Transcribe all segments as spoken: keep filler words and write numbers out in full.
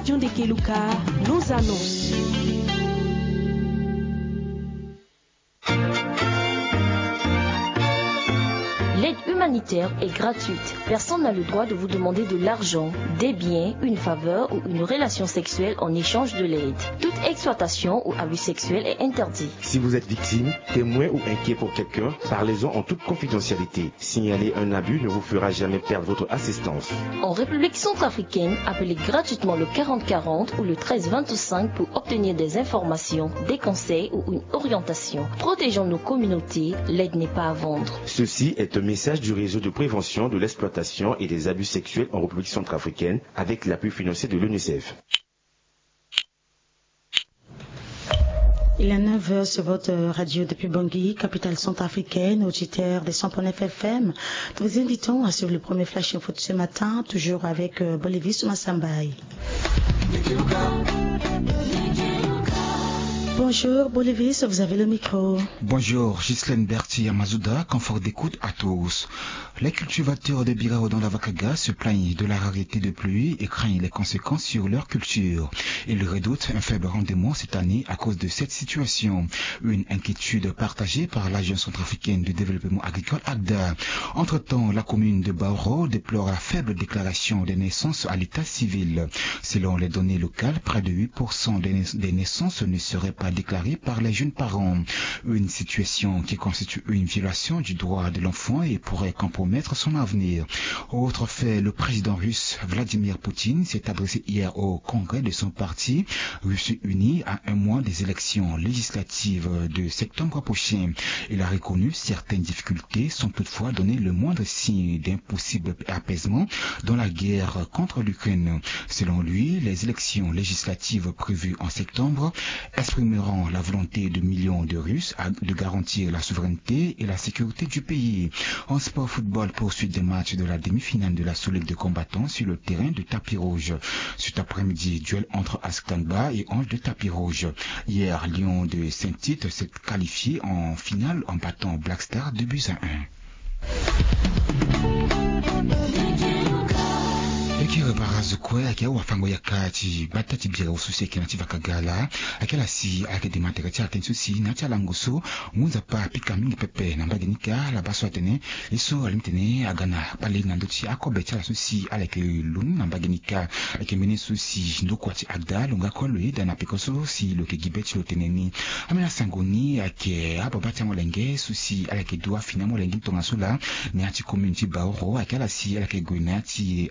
Dion de Keluka, nos annonces. L'aide humanitaire est gratuite. Personne n'a le droit de vous demander de l'argent, des biens, une faveur ou une relation sexuelle en échange de l'aide. Toute exploitation ou abus sexuel est interdit. Si vous êtes victime, témoin ou inquiet pour quelqu'un, parlez-en en toute confidentialité. Signaler un abus ne vous fera jamais perdre votre assistance. En République centrafricaine, appelez gratuitement le quarante quarante ou le treize vingt-cinq pour obtenir des informations, des conseils ou une orientation. Protégeons nos communautés, l'aide n'est pas à vendre. Ceci est un message du réseau de prévention de l'exploitation et des abus sexuels en République centrafricaine avec l'appui financier de l'UNICEF. Il est neuf heures sur votre radio depuis Bangui, capitale centrafricaine, auditeur des cent point neuf F M. Nous vous invitons à suivre le premier Flash Info de ce matin, toujours avec, euh, Bolivis Massambaye. Bonjour Bolivis, vous avez le micro. Bonjour Ghislaine Berti Amazuda, confort d'écoute à tous. Les cultivateurs de Birao dans la Vakaga se plaignent de la rareté de pluie et craignent les conséquences sur leur culture. Ils redoutent un faible rendement cette année à cause de cette situation. Une inquiétude partagée par l'Agence centrafricaine de développement agricole, ACDA. Entre-temps, la commune de Baoro déplore la faible déclaration des naissances à l'état civil. Selon les données locales, près de huit pour cent des nais-, des naissances ne seraient pas déclarées par les jeunes parents. Une situation qui constitue une violation du droit de l'enfant et pourrait compromettre son avenir. Autre fait, le président russe Vladimir Poutine s'est adressé hier au congrès de son parti Russie Unie à un mois des élections législatives de septembre prochain. Il a reconnu certaines difficultés sans toutefois donner le moindre signe d'un possible apaisement dans la guerre contre l'Ukraine. Selon lui, les élections législatives prévues en septembre exprimeront la volonté de millions de Russes à, de garantir la souveraineté et la sécurité du pays. En sport football, poursuite des matchs de la demi-finale de la Sous-Ligue de combattants sur le terrain de tapis rouge. Cet après-midi, duel entre Askangba et Ange de Tapis Rouge. Hier, Lyon de Saint-Tite s'est qualifié en finale en battant Black Star deux buts à un. E kiri bara azo kue ayeke awafango yaka ti gbata ti bira so si ayeke na ya ti Vakaga laa. Ayeke ala si ayeke dema tere ti ala tënë so si na ya ti alango so ngu nzapa apika mingi pepe na mbage ni kâ. Ala baa so atene ye so alingbi tene aga na kpale na ndö ti akobe ti ala so si ala yeke lo ni na mbage ni kâ. Ayeke mbeni so si ndokua ti ACDA lo nga kue lo yeda na peko so si lo yeke gi be ti lo tene ni. Ambeni asango ni ayeke ababa ti amolenge so si ala yeke du afini amolenge ni tongaso laa na ya ti commune ti Baoro. Ayeke ala si ala yeke gue na ya ti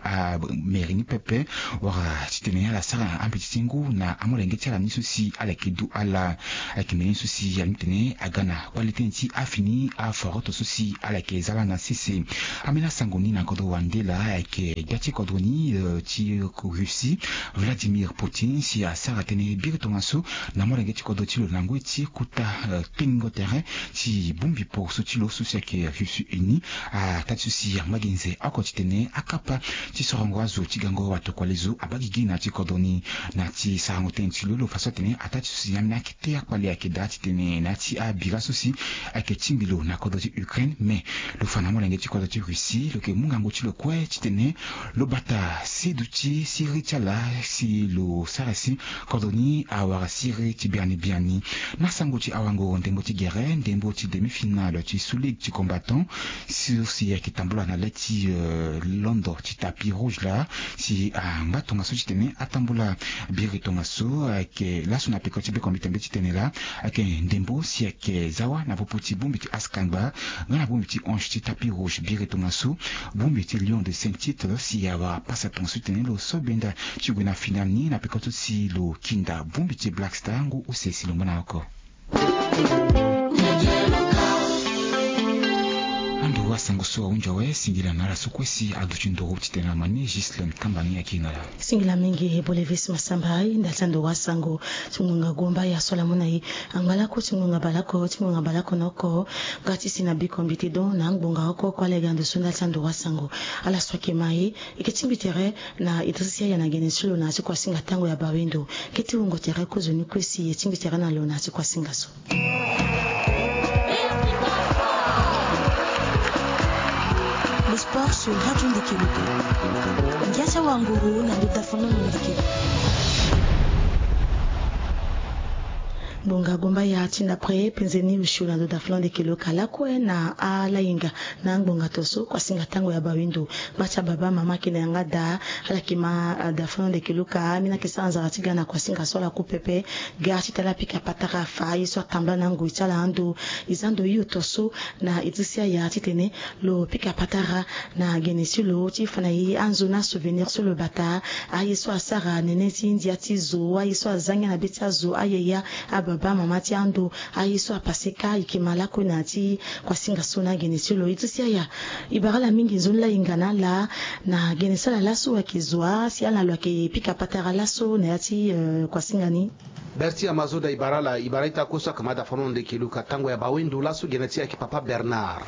amairie ni pepe wala titene ala sara ambeti ti ngu na amolenge ti ala ni so si ala yeke du ala. Ayeke mbeni so si alingbi tene aga na kpale tënë ti afini aforoto so si ala yeke za lani na sese. Ambeni asango ni na kodro wande laa ayeke gbia ti kodro ni, eh, ti Russie, Vladimir Poutine, si asara tënë biri tongaso na molenge ti kodro ti lo na ngoi ti kota, eh, tengo tere ti bongbi poroso ti lo so si ayeke Russie Unie. Ataa ti so si angba gi nze oko titene akapa ti sorongo azo ti gango watokua lezo abaa gigi na ya ti kodro ni. Na ya ti sarango tënë ti lo, lo fa so atene ataa ti so si ambeni akete akpale ayeke daa titene na ya ti abira so si ayeke tingbi lo na kodro ti Ukraine, me lo fa na amolenge ti kodro ti Russie lo yeke mu ngangu ti lo kue titene lo bata si duti siriri ti ala si lo sara si kodro ni awara siriri ti biani biani. Na sango ti awango ndembo ti gere, ndembo ti demi-finale ti Sous-Ligue ti combattant so si ayeke tambula na le ti, euh, londo ti tapis rouge laa, si angba tongaso titene atambula biri tongaso. Ayeke laso na peko ti bekombite mbi titene laa ayeke ndembo si ayeke zawa na popo ti bongbi ti Askangba nga na bongbi ti Ange ti tapis rouge. Biri tongaso bongbi ti Lyon de Saint-Tite si awara pasa tongaso titene lo so benda ti gue na finale ni na peko so si lo kinda bongbi ti Black Star ngu use si lo ngba na oko. Ando asango so ahunzi awe, singila na ala so kue si aduti nduru titene na mani Ghislaine Kamba ni ayeke hinga laa. Singila mingi Bolivis Massambaye ndali ti ando asango. Ti ngonga gomba ya so ala mu na e, angba lako ti ngonga bale oko ti ngonga bale oko na oko. Nga ti si na bekombite don na angbonga oko oko ala yeke ga ndo so ndali ti ando asango. Ala so ayeke ma e, e yeke tingbi tere na Idrissa Yaya na gene ti lo na ya ti kuasinga tango ya bawendo. Kete wungo tere kozoni kue si e tingbi tere na lo na ya ti kuasinga so. Le sport sur Radio Ndeke Loko. Ngia ti awanguru na ndota fonono ndeke. Ngbonga gomba ya ti ndapre penzeni usio na ndo dafulon de kelo ka lakue na alainga na ngbonga toso kuasinga tango ya bawendo. Bati ababa mama kina yanga da ala kima dafulon de kelo ka mina kesa anzara ti ga na kuasinga so ala ku pepe. Ga ti tala pika patara fa ye so atambla na ngoi ti ala ando. Izando yo toso na itisia ya titene lo pika patara na gene ti lo ti fa na ye anzo na souvenir so lo bata. Aye so asara nene ti ndia ti zo aye so azangia na be ti azo aye ya ababa mama ti ando. Aye so apase ka ike ma lakue na ti kuasinga so na gene ti lo itisia ya. Ibara la mingi nzoni la inga na la na gene sala laso ayeke zo a si ala na lo ayeke pika patara laso na ya ti kuasinga ni. Berti amazoda ibara la ibara ita koso akama dafa na onde kiluka tango ya bawendo laso gene ti ayeke papa bernard.